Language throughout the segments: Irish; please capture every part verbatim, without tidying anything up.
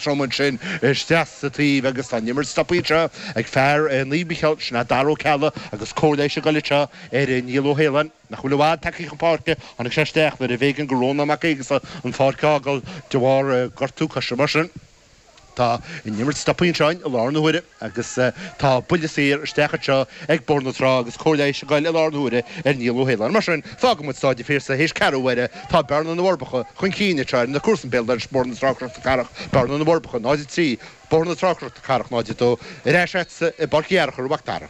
trom ansin isteach sa taobh agus tá an imirt stoptha anseo ag fear Naomh Mícheál sin é Dara Ó Ceallaigh agus cóir leighis ag goil anseo ar Niall Ó hAoláin nach bhfuil i bhfad tagtha chun páirce tháinig sé isteach nuair a b'éigean do Rónán Mac Aonghusa an pháirc a fhágáil de bharr gortú coise mar sin. Tá an imirt stoptha anseo i láthair na huaire agus tá buille saor isteach anseo ag Bóthar na Trá agus cóir leighis ag goil i láthair na huaire ar Niall Ó hAoláin. Mar sin, fágann muid Stáid an Phiarsaigh théis ceathrú uaire. Tá Bearna na bhForbacha chun cinn anseo ar na comharsana béal dorais Bóthar na Trá Cnoc na Cathrach, Bearna na bhForbacha náid a trí, Bóthar na Trá Cnoc na Cathrach náid a dó. Ar ais agatsa i bPáirc Uí Fhearchair a Mhac Dara.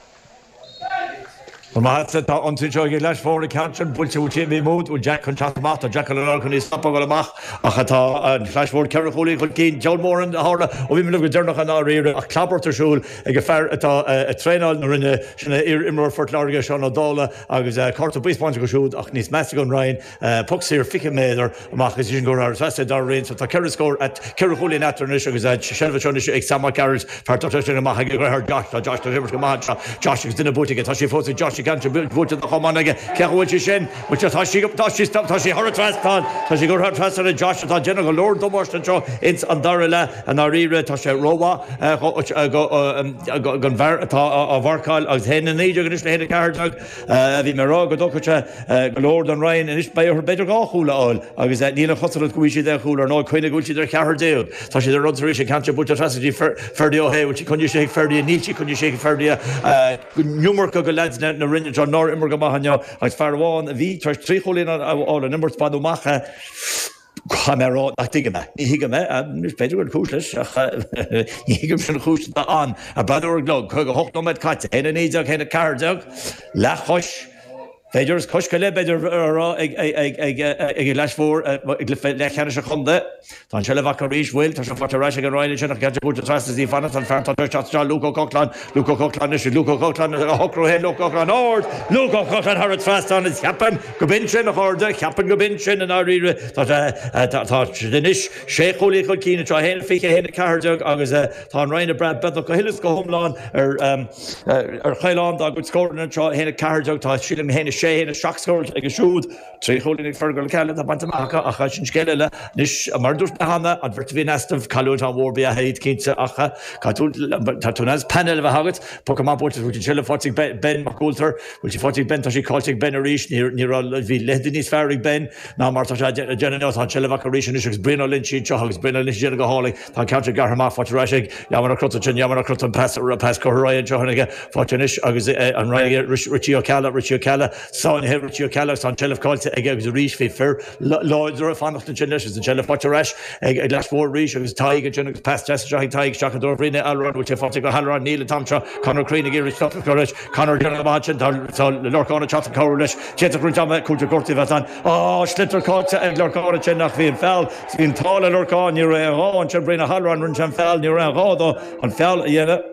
Tá maith tá an seo ag leis fór cean sin builte tí mí mód ó Jack chun teacht amach tá Jack an chun ní stop go amach ach atá an Chlais Mhór ceithre chúilín chun cinn deol mór an tharla ó bhí go deireanach an áiríre ach clabart ar siúl ag a fear atá ag traenáil na Rinne sin imreoir Phort Láirge Seán Ó Dála agus cárta buí spáinte go siúd ach níos measa don Rinn poc saor fiche méadar amach is sin go ar dar réon tá ceithre scór at ceithre chúilín eatarthu anois agus seilbh anois ag Sam Mac Gearailt fear sin amach ag Josh tá Josh go maith Josh agus duine buailte tá sé fós ag Josh gan buailte do choman aige ce bhfuil sé sin tá sí tá sí tá sí thar an trasnán tá sí gur thar trasnán Josh atá déanamh go leor damáiste anseo ins an dara leath an áiríre tá sé rómhaith don bhfear atá á mharcáil agus haon a naoi déag anois le haon a ceathair déag bhí mé rá go dtógfadh sé go leor don Rinn anois beidh orthu b'fhéidir dhá chúl a fháil agus níl an chosúlacht go bhfuil siad aon chúl ar ná cuimhne go bhfuil siad ar cheathair déag tá siad ar rud tar éis an ceann buailte trasna dtí Ferdy Ó hÉ bhfuil sí chun sé ag Ferdy níl sí chun sé ag Ferdy iomarca go leaids na Rinne seo nár imir go maith inniu agus fear amháin a bhí tar éis trí chúilín a fháil an imirt baineadh amach Cha mé rá nach dtuigim é. Ní thuigim é b'fhéidir go cúis leis ach ní thuigim sin chúis an a bradúr glog chuig a hocht nóiméad caite, haon a naoi déag haon a ceathair déag leathchois B'fhéidir is cois le b'fhéidir rá ag ag Leis Mhór ag leathcheannais an chontae. Tá an seilbh acu arís bhfuil tá sé faighte ar ais ag an Rinn sin ach buailte trasna dtí fanna an fear tá Luke Ó Cocláin Luke Ó Cocláin is Luke Ó Cocláin a shocrú héin Luke Ó Cocláin ard Luke Ó Cocláin thar an trasnán is ceapaim go b'in sin a chairde ceapaim go b'in sin an áiríre tá tá anois sé chúilín chun cinn seo haon fiche haon a ceathair déag agus tá an Rinn ag brath beagnach go huile is go hiomlán ar ar chailán dá gcuid scóranna seo haon a ceathair déag tá sílim haon a sé haon a seacht scór ag siúd trí chúilín ag Fergal Ceile tá bainte amach ach sin scéal eile anois mar dúirt mé cheana an bheirt a bhí in easnamh cailliúint an-mhór ba ea iad cinnte ach tá tú as panel a bheith agat poc amach buailte bhfuil sin faighte ag Ben Mac Coulter bhfuil sí faighte ag Ben tá sí caillte ag Ben arís ní raibh bhí leithéid níos fearr ag Ben ná mar tá sé déanamh tá an seilbh acu arís anois agus Brian Ó Loinsigh anseo agus Brian Ó Loinsigh déanamh go hálainn tá an ceann gearrtha amach faighte ar ais ag Yaman Ó Crotain sin Yaman Ó Crotain pas pas curtha ar aghaidh anseo aige faighte anois agus an Rinn Richie Ó Ceallaigh Richie Ó Ceallaigh sáinnithe Richie Ó Ceallaigh tá an tseilbh caillte aige agus arís bhí fir láidir ag fanacht ansin leis agus an tseilbh faighte ar ais ag ag Leis Mhór arís agus Tadhg ansin agus pas deas anseo ag Tadhg isteach i dtreo Bhrian Halloran bhfuil sé faighte go Halloran níl an t-am seo Conor Crean ag iarraidh stop a chur leis Conor déanamh amach ansin tá tá Lorcán ag teacht ag cabhrú leis d'fhéadfadh roinnt ama cúilte gortaithe a bheith ann á sliotar caillte ag Lorcán ansin ach bhí an feall bhí an t-ádh le Lorcán ní raibh aon ghá ansin Brian Halloran rinne sé an feall ní raibh aon ghá dó an feall a dhéanamh.